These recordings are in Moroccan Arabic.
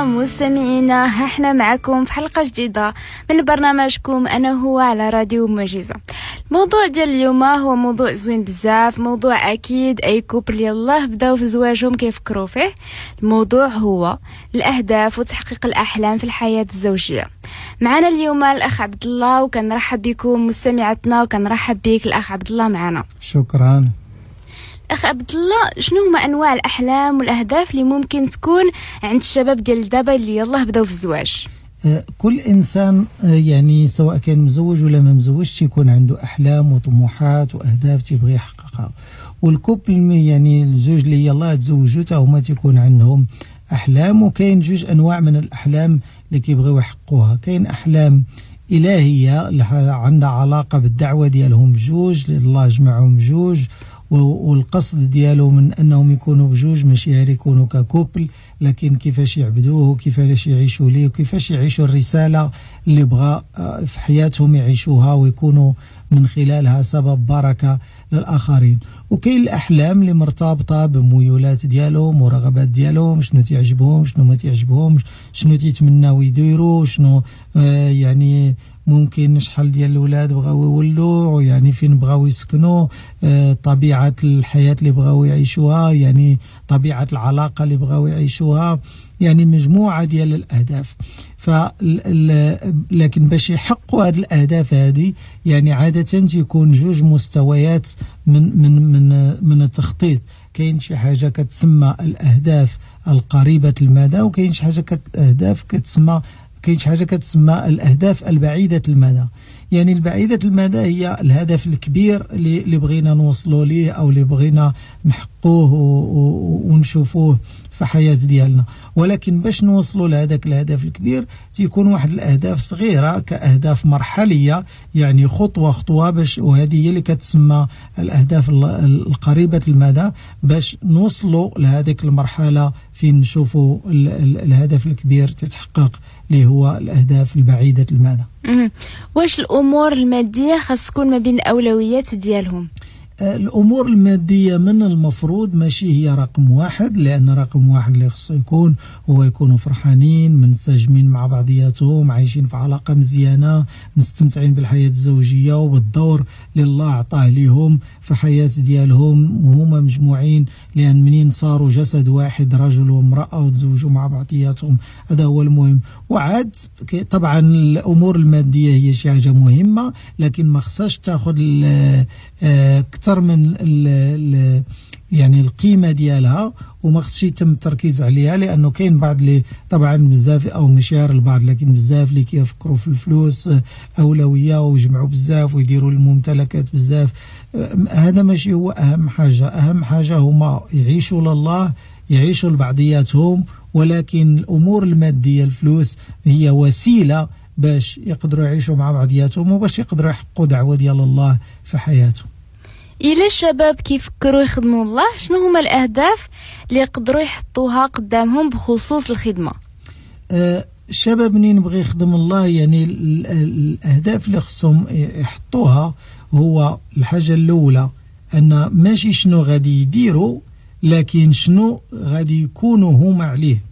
مستمعينا، ها احنا معكم في حلقة جديدة من برنامجكم أنا هو على راديو معجزة. الموضوع ديال اليوم هو موضوع زوين بزاف، موضوع أكيد أي couple يلاه بداو في زواجهم كيفكروا فيه. الموضوع هو الأهداف وتحقيق الأحلام في الحياة الزوجية. معنا اليوم الأخ عبد الله، وكنرحب بكم مستمعتنا، وكنرحب بك الأخ عبد الله معنا. شكرا. أخ عبد الله، شنو هما أنواع الأحلام والأهداف اللي ممكن تكون عند الشباب ديال دابا اللي يلاه بداو في الزواج؟ كل إنسان يعني سواء كان مزوج ولا ما مزوجش تيكون عنده أحلام وطموحات وأهداف تيبغي يحققها. وال couple يعني الزوج اللي يلاه تزوجوا تا هما تيكون عندهم أحلام. وكاين جوج أنواع من الأحلام اللي كيبغيو يحققوها. كاين أحلام إلهية اللي عندها علاقة بالدعوة ديالهم بجوج، اللي الله جمعهم بجوج، والقصد ديالو من أنهم يكونوا بجوج ماشي غير يكونوا ك couple، لكن كيفاش يعبدوه وكيفاش يعيشوا ليه وكيفاش يعيشوا الرسالة اللي بغى في حياتهم يعيشوها ويكونوا من خلالها سبب بركة للآخرين. وكاين الأحلام اللي مرتبطة بميولات ديالهم ورغبات ديالهم، شنو تعجبهم شنو ما تعجبهمش، شنو تيتمناو يديروا، شنو يعني ممكن شحال ديال الأولاد بغاو يولوا، يعني فين بغاو يسكنوا، طبيعة الحياة اللي بغاو يعيشوها، يعني طبيعة العلاقة اللي بغاو يعيشوها، يعني مجموعة ديال الأهداف. لكن باش يحققوا هاد الأهداف هادي يعني عادة تيكون جوج مستويات من من من من التخطيط. كاين شي حاجة كتسمى الأهداف القريبة المدى، وكاين شي حاجة أهداف كتسمى، كاين شي حاجة كتسمى الأهداف البعيدة المدى. يعني البعيدة المدى هي الهدف الكبير اللي بغينا نوصلوا ليه أو اللي بغينا نحققوه ونشوفوه في حياة ديالنا. ولكن باش نوصلوا لهذاك الهدف الكبير تيكون واحد الأهداف صغيرة كأهداف مرحلية، يعني خطوة خطوة باش، وهذه هي اللي كتسمى الأهداف القريبة المدى، باش نوصلوا لهذيك المرحلة فين نشوفوا الهدف الكبير تتحقق اللي هو الأهداف البعيدة المدى. واش الأمور المادية خاص تكون ما بين الأولويات ديالهم؟ الأمور المادية من المفروض ماشي هي رقم واحد، لأن رقم واحد اللي خصو يكون هو يكونوا فرحانين منسجمين مع بعضياتهم، عايشين في علاقة مزيانة، مستمتعين بالحياة الزوجية وبالدور اللي الله عطاه ليهم في حياة ديالهم وهما مجموعين، لأن منين صاروا جسد واحد رجل وامرأة وتزوجوا مع بعضياتهم، هذا هو المهم. وعاد طبعا الأمور المادية هي شي حاجة مهمة، لكن ما خصهاش تاخذ أكثر من يعني القيمة ديالها، وما خصش يتم التركيز عليها، لأنه كاين بعض اللي طبعا بزاف أو مش غير البعض، لكن بزاف اللي كيفكروا في الفلوس أولوية ويجمعوا بزاف ويديروا الممتلكات بزاف. هذا ماشي هو أهم حاجة. أهم حاجة هما يعيشوا لله، يعيشوا لبعضياتهم، ولكن الأمور المادية الفلوس هي وسيلة باش يقدروا يعيشوا مع بعضياتهم وباش يقدروا يحققوا دعوة ديال الله في حياتهم. إلى الشباب كيفكروا يخدموا الله، شنو هما الأهداف اللي يقدروا يحطوها قدامهم بخصوص الخدمة؟ الشباب منين بغي يخدم الله، يعني الأهداف اللي خصهم يحطوها هو الحاجة الأولى أن ماشي شنو غادي يديروا، لكن شنو غادي يكونوا هما عليه،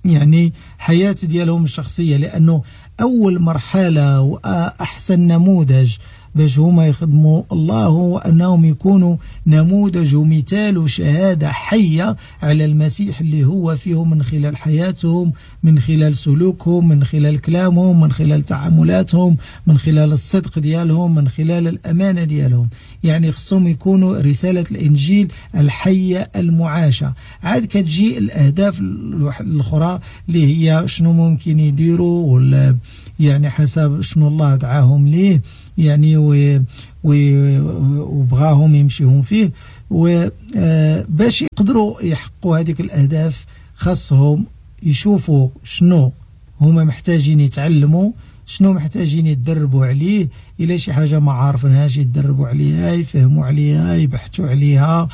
يعني حياة ديالهم الشخصية. لأنه أول مرحلة وأحسن نموذج باش هما يخدموا الله هو أنهم يكونوا نموذج ومثال وشهادة حية على المسيح اللي هو فيهم، من خلال حياتهم، من خلال سلوكهم، من خلال كلامهم، من خلال تعاملاتهم، من خلال الصدق ديالهم، من خلال الأمانة ديالهم. يعني خصهم يكونوا رسالة الإنجيل الحية المعاشة. عاد كتجي الأهداف الأخرى اللي هي شنو ممكن يديروا، ولا يعني حسب شنو الله دعاهم ليه، يعني وبغاهم يمشيهم فيه. وباش يقدروا يحققوا هذيك الأهداف خاصهم يشوفوا شنو هما محتاجين يتعلموا، شنو محتاجين يتدربوا عليه. إلا شي حاجة ما عارفينهاش يتدربوا عليها، يفهموا عليها، يبحثوا عليها،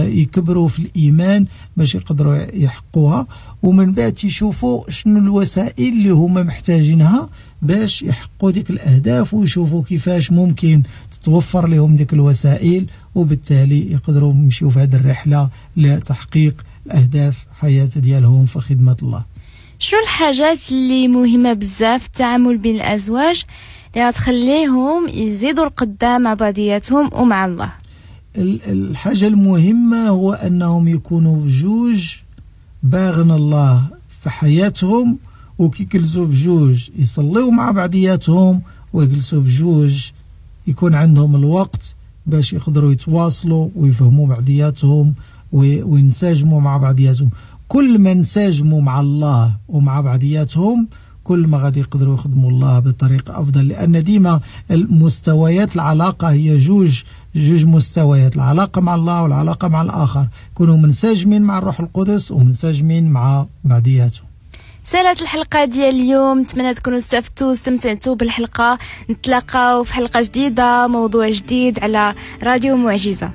يكبروا في الإيمان باش يقدروا يحققوها. ومن بعد تيشوفوا شنو الوسائل اللي هما محتاجينها باش يحققوا ديك الأهداف، ويشوفوا كيفاش ممكن تتوفر لهم ديك الوسائل، وبالتالي يقدروا يمشيو في هذه الرحلة لتحقيق الأهداف حياة ديالهم في خدمة الله. شنو الحاجات اللي مهمة بزاف التعامل بين الأزواج اللي غتخليهم يزيدوا القدام مع بعضياتهم ومع الله؟ الحاجة المهمة هو أنهم يكونوا بجوج باغن الله في حياتهم، وكيجلسوا بجوج يصليوا مع بعضياتهم، ويجلسوا بجوج يكون عندهم الوقت باش يقدروا يتواصلوا ويفهموا بعضياتهم وينسجموا مع بعضياتهم. كل ما انسجموا مع الله ومع بعضياتهم كل ما غادي يقدروا يخدموا الله بطريقة أفضل، لأن ديما المستويات العلاقة هي جوج مستويات، العلاقة مع الله والعلاقة مع الآخر. كونوا منسجمين مع الروح القدس ومنسجمين مع بعضياتهم. سالت الحلقة ديال اليوم، نتمنى تكونوا استفدتوا واستمتعتوا بالحلقة. نتلاقاو في حلقة جديدة، موضوع جديد على راديو معجزة.